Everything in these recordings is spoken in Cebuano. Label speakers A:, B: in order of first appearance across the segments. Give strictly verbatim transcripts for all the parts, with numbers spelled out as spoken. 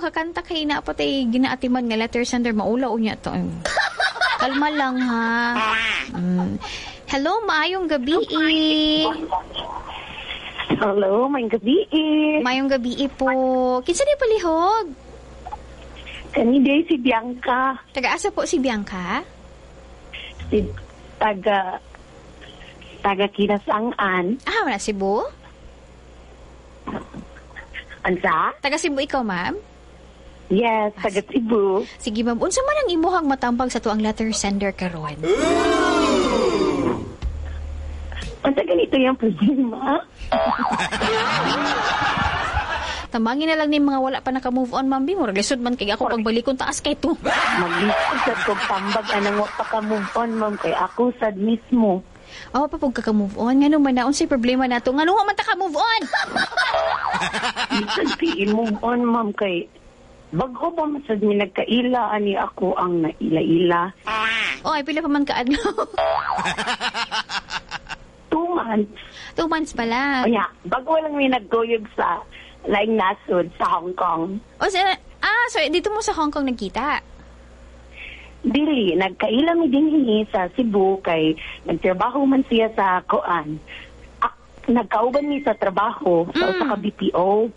A: makakanta kay na patay ginaatiman nga letter sender maula unya to. Kalma lang ha. Mm. Hello, maayong gabi.
B: Hello, maayong gabi.
A: Maayong gabi po. Kinsa ni palihog?
B: Kani day si Bianca.
A: Taga-asa po si Bianca?
B: Si taga taga Kinasangan.
A: Ah, wala Cebu?
B: Ansa?
A: Taga Cebu ikaw, ma'am?
B: Yes, taga Cebu.
A: Sige, ma'am. Unsa man ang imuhang matambag sa tuang letter sender karon?
B: Unsa ganito yung problema?
A: Tambangin na lang ni mga wala pa naka-move on, ma'am. Murag lisod man kay ako pagbalikon taas kay to.
B: Maglisod sad kog tambag anang wa pa ka-move on, ma'am, kay ako sad mismo.
A: Oh, pa pug ka move on. Ngano man na unsay problema nato? Ngano wa man ta ka move on?
B: Lisod kay i-move on, ma'am, kay bag-o pa man sad mi nagkaila ani ako ang naila-ila.
A: Oh, ay pila pa man kaadlaw.
B: Two months.
A: Two months pala.
B: O yeah, bago lang mi nagkuyog sa laing nasod sa Hong Kong.
A: O sa, ah, so dito mo sa Hong Kong nagkita?
B: Dili, nagkaila mi dinhi sa Cebu kay nagtrabaho man siya sa kuan. Ak, nagkauban mi sa trabaho sa mm. usa ka B P O.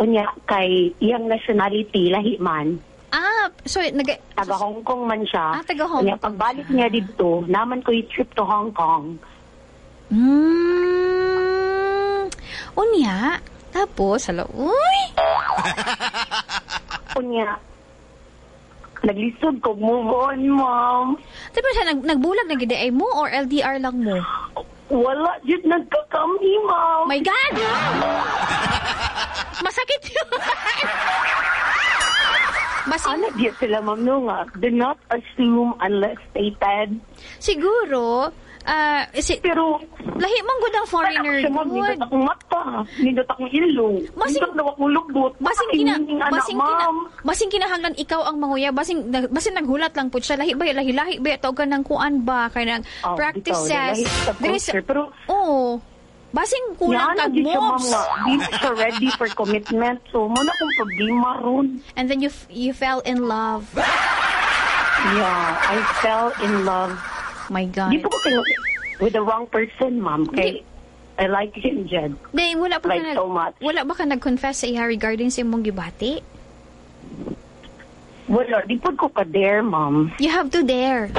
B: Unya kay iyang nationality lahi man.
A: Ah, so nag
B: taga Hong Kong man siya.
A: Ah, taga Hong
B: Unya pagbalik niya didto, naman ko trip to Hong Kong.
A: Mm. Unya, tapos hala, uy.
B: Unya naglisod ko move on, ma'am.
A: Diba siya, nag, nagbulag na gid ay mo or L D R lang mo?
B: Wala, jud nagkakami, ma'am.
A: My God! Masakit yun! Basing,
B: ano jud sila, ma'am, no nga? Do not assume unless stated.
A: Siguro, uh, si,
B: pero,
A: lahi mong good ang foreigner.
B: Siya, ma'am, nindot akong mata, nindot akong ilong,
A: basing,
B: nindot na akong lubot.
A: Basing, kina, basing, kina, basing kinahanglan ikaw ang manguya, basing, basing naghulat lang po siya, lahi ba, lahi, lahi ba, tawag ka ng kuan ba, kaya ng
B: oh,
A: practices.
B: Bitaw, lahi sa culture, pero,
A: oh, basing kulang kag moves.
B: Di siya ready for commitment, so muna akong problema ron.
A: And then you you fell in love.
B: Yeah, I fell in love.
A: My God.
B: Di po ko kayo with the wrong person, ma'am. Kay I like him, Jed.
A: Di, wala pa
B: like
A: ka nag,
B: so much.
A: Wala ba ka nag-confess sa iya regarding sa imong gibati?
B: Wala. Di po ko ka-dare, ma'am.
A: You have to dare.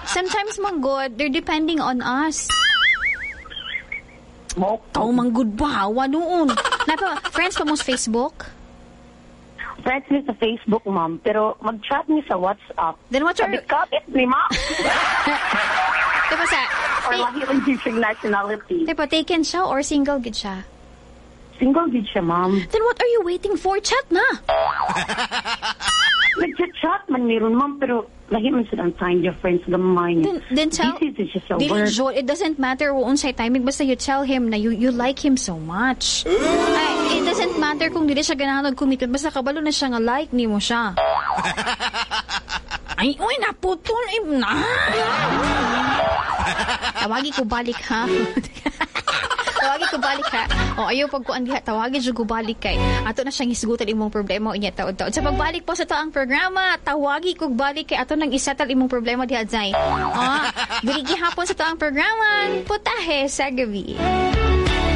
A: Sometimes, mang God, they're depending on us.
B: Mo?
A: Tao mang good ba? Hawa noon. Napa, friends pa mo sa Facebook?
B: Friends mi sa Facebook, ma'am. Pero mag-chat mi sa WhatsApp.
A: Then what's your...
B: Kabit-kabit ni ma'am.
A: Diba sa...
B: Or lahi rin siya nationality.
A: Diba, taken siya or single gid siya?
B: Single gid siya, ma'am.
A: Then what are you waiting for? Chat na!
B: Nag-chat man meron, ma'am. Pero lahi man sila ang time difference gamay niya.
A: Then, then tell...
B: This is just a work.
A: It doesn't matter kung unsay timing. Basta you tell him na you, you like him so much. Ay, it doesn't matter kung dili siya ganahan og-commitment. Basta kabalo na siya nga like nimo siya. Ay, uy, naputol. Ay, na. Tawagi ko balik, ha? Tawagi ko balik, ha? O, ayaw pagkuan diha. Tawagi ko balik kay. Ato na siyang hisgutan imong problema unya taod-taod. Sa pagbalik po sa to ang programa, tawagi ko balik kay ato nang isettle imong problema diha, Zay. Ah, diri gihapon sa to ang programa, Putahe sa Gabi.